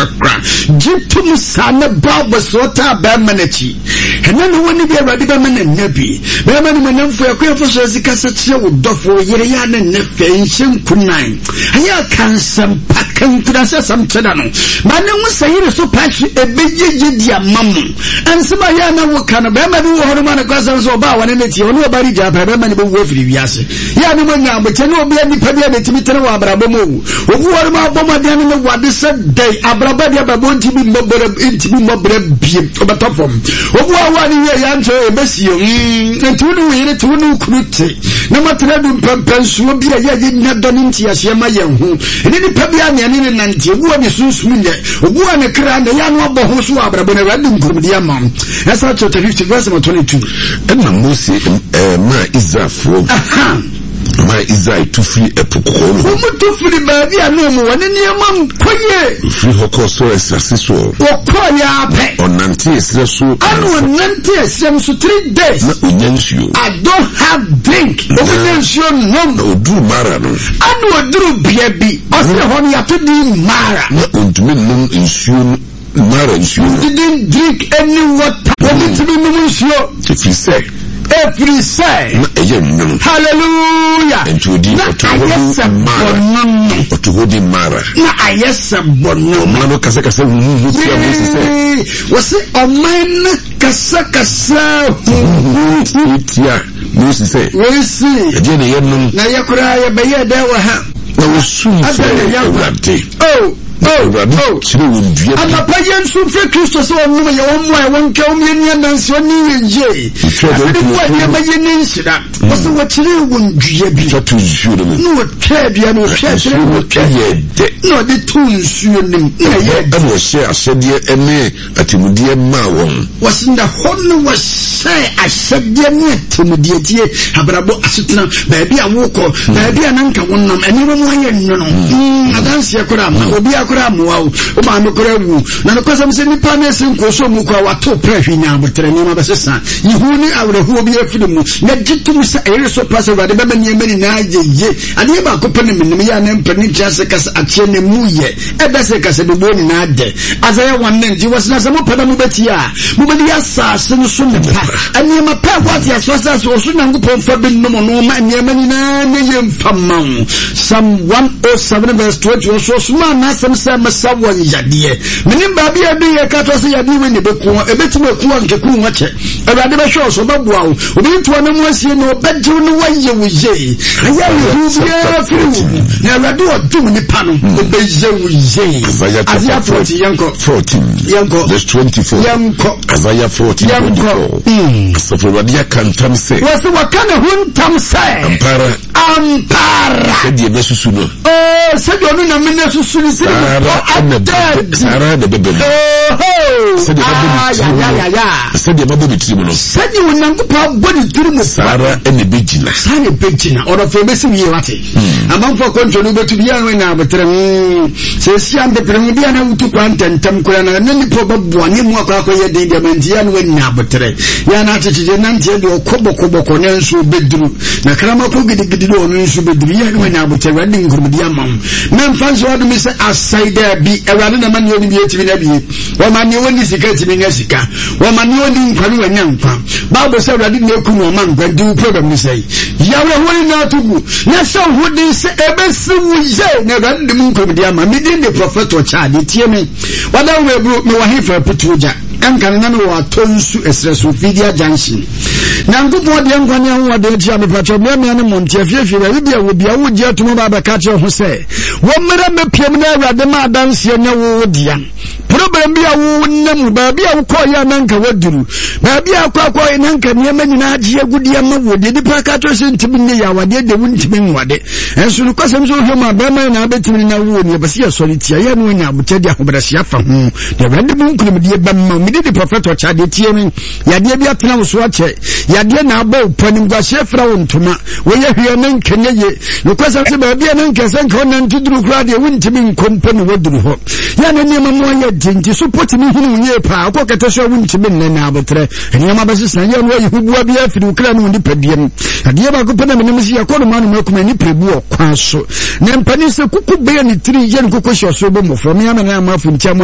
kakra. Gye tom saa ne bɔ abɔsoɔ taa bɛrima no akyi. Ɛna ne wɔne bi Awurade bɛma no anya bi. Bɛrima no manyamfo ɛkwan fa so asi kasa kyerɛ wo dɔfo wo yere yɛ a ne nnɛ fɛ nhyɛ nkunan. Ɛyɛ a ka nsɛm pa ka nkuranhyɛsɛm kyerɛ no. Ma ne ho sɛ yere so pa hwe ɛbɛyɛ yie di ama mo. Nsɛm a yɛ a na woka no bɛrima bi wɔ hɔ no ma no kwasɛm sɛ ɔbaa wɔne ne teɛ ɔne ɔba regya pɛ bɛrima no bɛwu afiri wiase. Yɛ a ne mo nya abokyɛ ne obi a nipa bi a n'etumi tene wɔ abrabɔ mu owu. Obi wɔ no abɔ mmɔden ne ne wade sɛ dɛn abrabɔ deɛ bɛbɔ ntumi mmɔ brɛ ntumi mmɔ brɛ biem ɔbɛtɔ fam. Obi wɔ hɔ a ne wie yɛ ankyɛ ebesie mm nti wo ne wo yere te wo ne wo kunu te na moatena du mpɛmpɛnsoɔ bi a yɛ a yɛnya dɔ ne nteaseɛ ma yɛn ho. Ɛne nipa bi a ne ɛne ne nante obi wɔ ne sunsum nyɛ obi wɔ ne kra na yɛ ano abɔ ho so wɔ abrabɔ no Awurade de nkurumdi ama wo. Ɛsra chapter 50 verse number 22. Ɛnna Mose maa Israelfoɔ maa Israel tu firi Ɛpo Kɔkɔɔ no ho. Wɔn tu firi baabi a na wɔn wɔ ne nneɛma nkɔ yie. Wɔfiri hɔ kɔɔ Sor asase soɔ. Wɔkɔɔ yɛ ara pɛ. Ɔnantee serɛ so. Ɛna ɔnantee serɛ no so 3 days. Na ɔnya nsuo. I don't have drink. Wɔn nya nsuo nom. Na ɔduruu Mara no. Ɛna ɔduruu bea bi. Ɔsɛ hɔ no yɛato din Mara. Na ɔntumi nnom nsuo no. Mara nsuo no. Didn't drink any water. Wɔn ntumi nom nsuo. Ɛfiri sɛ. Ɛfiri sɛ. Na ɛyɛ nwono. Hallelujah. Nti odi Na ɔto hɔ ayɛ di sɛ Mara. bɔno. Ɔto hɔ di Mara. Na ayɛ sɛ bɔno. Ɔman no kasakasa huhuhu tia Mose sɛ. Wɔsi ɔman no kasakasa huhuhu. Tia Mose sɛ. Wɔsi. Ɛdeɛ na yɛnom. Na yɛ koraa yɛbɛyɛ dɛ wɔ ha. Na wɔsum frɛɛ Awurade. Oh. Na Awurade kyerɛɛ wɔn dua bi. Anɔpa yɛn nso mfrɛ Kristo sɛ ɔnnom yɛn, ɔmmoa yɛn, ɔnka wɔn yɛn ni adanse, ɔne yɛn yie. Wɔtwaa Afei dua mu a no nneɛma yɛ ne nhyira. Wɔsɛ wɔkyerɛɛ wɔn dua bi. Twa to nsuo no mu. Na wɔtwaa dua no, wɔtwaa Nsuo kyerɛ no wɔtwa. yɛɛ dɛ. Na ɔde too nsuo no mu. Na ɛyɛɛ dɛ. Ɛna ɔhyɛɛ ahyɛdeɛ ne atemmudeɛ maa wɔn. Wɔsi na hɔ no wɔhyɛɛ ahyɛdeɛ ne atemmudeɛ tie abrabɔ asetena baabi a wokɔ baabi a nanka wonam nneɛma mu ayɛ nwono mm, adanseɛ koraa ma obiara koraa mmoa wo wo maame koraa wu na nokwasɛm sɛ nnipa no ɛsɛ nkuo so mu koraa wato prɛ hwi nya aboterɛ nneɛma bɛsesa yihu ne awerɛhoɔ bi afiri mu na gye tom sɛ ɛyere so pa sɛ Awurade bɛma nneɛma nyinaa yɛ yie adeɛ baako pɛ ne menim yɛ a ne mpɛ ne nkyerɛ ase kasa ateɛ ne mu yɛ Ɛda sɛ kasabebuo nyinaa dɛ. Isaiah 1 9 nti wɔsena sɛ mopɛ na mobɛtie a, mobɛdi asase no so nnepa. Nneɛma pa ɛwɔ ateasefoɔ asase wɔ so Nyankopɔn fa bi nom no ma nneɛma nyinaa nyɛ yie mfa mma wo. Psalm 107 verse 20 ɔso ɔsomaa n'asɛm sɛ mɛsa wɔn yadeɛ. Menim baabi a ɛdu yɛ ka to sɛ yadeɛ wei na ɛbɛku wɔn, ɛbɛtumi aku wɔn nkeku wɔn akyɛ. Awurade bɛhwɛ wo so, ɔbɛboa wo, ɔbɛyi ntoa no mu asie na ɔbɛgye wo na wayɛ wo yie. Ɛyɛ awerɛhoɔ biara firi wo mu, na Awurade ɔdom nipa no, ɔbɛyɛ wo yie. Isaiah 14, yɛnkɔ. 14, yɛnkɔ. Verse 24. Yɛnkɔ. Isaiah 14, 24. Asafo Awurade aka ntam sɛ. Wɔsi wɔka ne ho ntam sɛ. Ampara. Ampara. Sɛdeɛ bɛsusu no. Oo sɛdeɛ ɔno nyame no asusu no sɛ ne bɔ adaadi. Saa ara na ɛbɛba mu. Oho. Sɛdeɛ mabɔ ne tirim no. Sɛdeɛ mabɔ ne tirim no. Sɛdeɛ Onyankopɔn abɔ ne tirim no. Saa ara na ɛbɛgyina. Saa na ɛbɛgyina. Ɔdɔfo ɛbɛsi wie wate. Amanfoɔ akɔntɔ no wobɛtu bi a na aboterɛ. Sɛ ɛsi a mpepere ho bi a na wotu kwan ntɛntɛm koraa na ne nipa bɛboa ne mu akɔ akɔyɛ den deɛ ma nti yɛ na wanya aboterɛ. Yɛ na akyekyegye nanteɛ deɛ ɔkɔ bɔkɔbɔkɔ nanso ɔbɛduru. Na krama kɔ gidigidi de ɔno nso bɛduru. Yɛ na wanya aboterɛ. Awurade de nkurumdi ama wo. Mɛmfa nhyɛ w'adom sɛ asɛe daabi. Awurade na ma nea ɔnim yɛ tumi na bie. Wɔma nea ɔnni sika tumi nya sika. Wɔma nea ɔnni nkwa no wanya nkwa. Bible sɛ Awurade na eku na ɔma nkwa nti wo problem ne sɛe. Yi awerɛhoɔ nyinaa to gu na hyɛ wo ho den sɛ ɛbɛsi wo yie na Awurade de mu nkonimdi ama. Me din de Prɔfɛt Ɔkyɛade. Tie me. Wada wo aburo, mewɔ hefa aputuo gya. Ɛnka no na mewɔ atɔ nsu ɛserɛ so, Fidia Junction. Nyankopɔn deɛ nkwa ne ahoɔden akyi a mepakyɛ mmeammea ne mmɔnte afiefie baabi bia wɔ bia wogye atom aba abɛka kyerɛ ho sɛ wɔmmra mmɛpiam na Awurade ma adanseɛ nyɛ wo wo dea. Problem bi a wonam mu, baabi a wokɔɔyɛ a na nka waduru, baabi a akɔ akɔɔyɛ na nka nneɛma nyinaa agye agudeɛ ma wo, deɛ nipa aka kyerɛ sɛ ntumi nyɛ yɛ awadeɛ deɛ wontumi nwade. Ɛnso nokwasɛm sɛ wohwɛ mu a bɛrima nyinaa bɛtumi ne na wowɔ ni ɛbɛsɛ yɛsɔre tia yɛ no anya abokyɛ de ahobrɛaseɛ afa ho na Awurade mu nkonimdie bɛma wo. Mede di prɔfɛt ɔkyɛ adeɛ tie me. Yadeɛ bi atena wo so akyɛ. Yadeɛ na abɔ wo pɔ, animguaseɛ fira wo ntoma. Woyɛ hwee na nka nyɛ ye. Nokwasɛm sɛ baabi a na nka sɛ nka wonante duru koraa deɛ wontumi nkɔ mpo na woaduru hɔ. Yɛ na nneɛma mu ayɛ den nti so potumi hunu wo yie paa. Wokɔ kɛtɛ so a wontumi nnɛ na abotrɛ. Nneɛma bɛsesa yɛ na woayi huboa bi afiri wo kra ne wo nipadua mu. Adeɛ baako pɛ na menim sɛ yɛkɔ noma noma kuma nnipa bu ɔkwan so. Na mpanin sɛ kuku bɛyɛ ne tiri yɛ ne koko hyɛ ɔsoro bɔ mmɔfra. Me ama na ama afontia mu.